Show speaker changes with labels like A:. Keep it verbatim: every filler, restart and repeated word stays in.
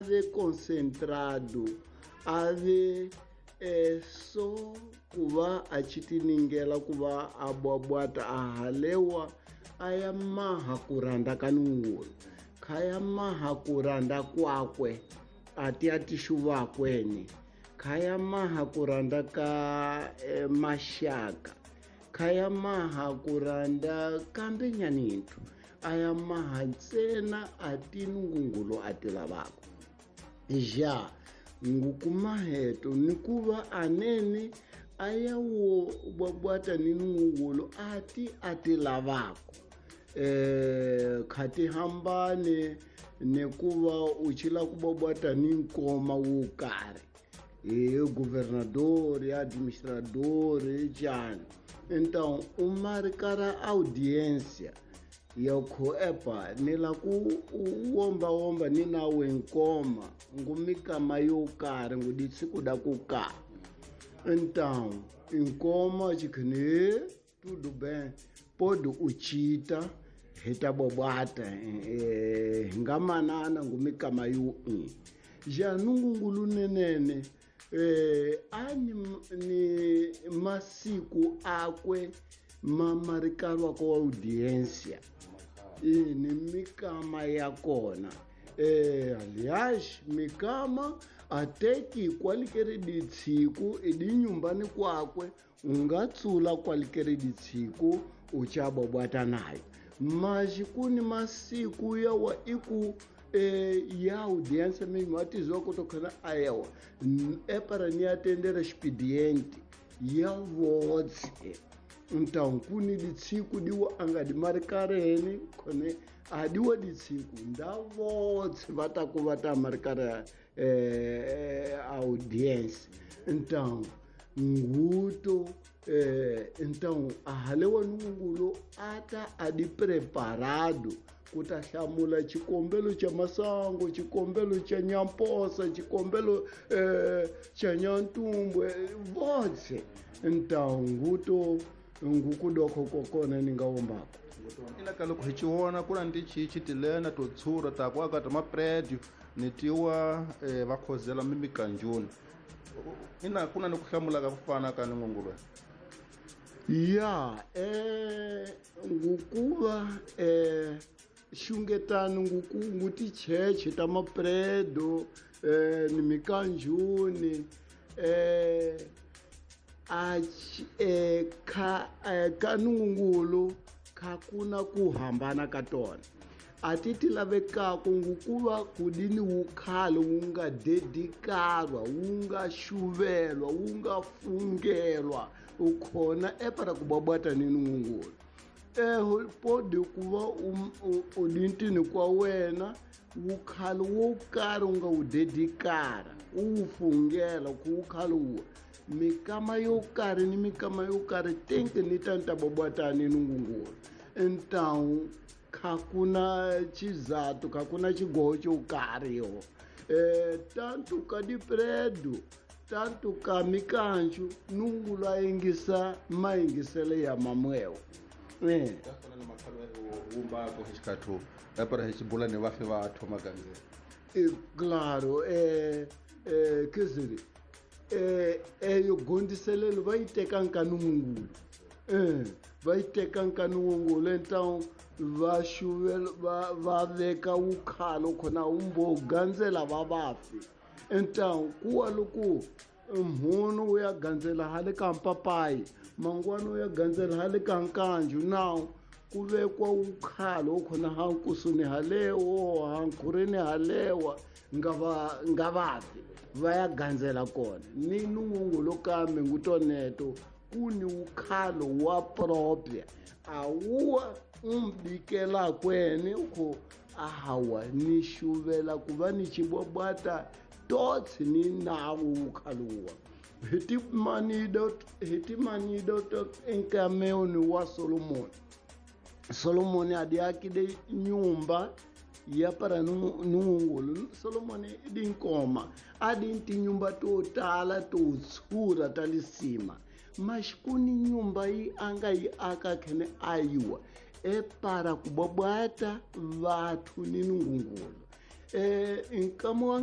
A: Ve concentrado a ve eh, so ku va a chitiningela ku va a bwabwata a halewa a ya maha ku rhandza ka nungulu kha ya maha ku rhandza kwakwe a ti ya tixuvakweni kha ya maha ku rhandza ka eh, maxaka kha ya maha ku rhandza kambe nyanithu a ya maha ntsena a ti nungungulu a ti lavaka ja ngukumaheto ni ku va anene a ya wo bwabwata ni nungungulu a ti a ti lavaka eh kha ti hambane ni ku va u chila ku bwabwata ni nkoma wo karhi hi governador administrador njhani. Então u marikara audiência ya kho epa ni la ku womba womba ni nawe nkoma ngumikama yo karhi nguditsi da ku ka. Então nkoma chikhne tudo bem pode uchita hita bobata eh ngamanana ngumikama yo i ja nungungulu nenene eh ani ni masiku akwe mamarikalwa ko audiência e ni mikama ya kona eh aliás mikama ateki kwalikere ditshiku edinyumbani kwakwe ungatsula kwalikere ditshiku uchabobwata nayo mas kuni masiku yawa iku eh ya audiência mesmo atizwa kutokana ayewa é para ni atender expediente ya votse. Então kuni ditshiku diwa anga dimarkareni khone adiwa ditshiku nda votse vata ku vata markara eh audiência. Então nguto eh então ahalewa nungulo ata adi preparado kuta hlamula chikombelo cha masango chikombelo cha nyamposa chikombelo eh cha nyantumbwe votse. Então nguto ngukudoko kokona ningawombako
B: ina ka loko hi chiwona ku na tichichi tilena to tshura ta ku aka ta mapredio ni tiwa eh, va khozela mimikanjuni ina ku na ni ku hlamula ka ku fana ka nungungulu
A: ya eh ngukuva eh xungetani nguku nguticheche ta mapredo eh ni mikanjuni eh a eh ka eh, ka nungungulu kha kuna ku hambana ka tona a ti ti lavekaka ngukuva kudini wu khale wu nga dedikarwa wu nga xuvelwa wu nga fungelwa u khona epara ku bwabwata ni nungungulu eh pode ku va u dintini kwa wena wu khale wo karhi u nga wu dedikara u wu fungela ku wu khale wu mikama yo karhi ni mikama yo karhi tinki ni tanta bwabwata ni nungungulu. Então kha kuna chizatu kha kuna chigoho cho karhi yo eh tanto ka dipredo tanto ka mikanju nungulu a yingisa mayingisele ya mamwewo eh
B: ta fana ni makhalo wumba ko xikhathu epara hi xibula ni vafi va thoma gandzela
A: eh claro eh eh kiziri eh eyo gondiselelo va yi teka nkanungulu eh va yi teka nkanungulu. Então va xuvela va va veka wukhalo khona umbo gandzela va vafi. Então kuwa loko mhunu u ya gandzela hale ka mpapayi mangwana u ya gandzela hale ka nkanju now ku vekwa wukhalo khona ha nkusuni halewo ha nkhureni halewa nga va nga vafi va ya gandzela kona ni nungungulu kambe ngutoneto kuni wukhalo wa propria awuwa umbikela kweni ukho ahawa ni xuvela ku va ni xibwabwata totsi ni nawu wukhaluwa hi timanido hi timanido to enkameoni wa Solomoni. Solomoni adiakide nyumba ya para nungungulu Solomoni idi nkoma adi tinyumba to tala to tshura ta lisima mas kuni nyumba yi anga yi aka khene ayiwa e para ku bwabwata vathu ni nungungulu. Eh nkama wa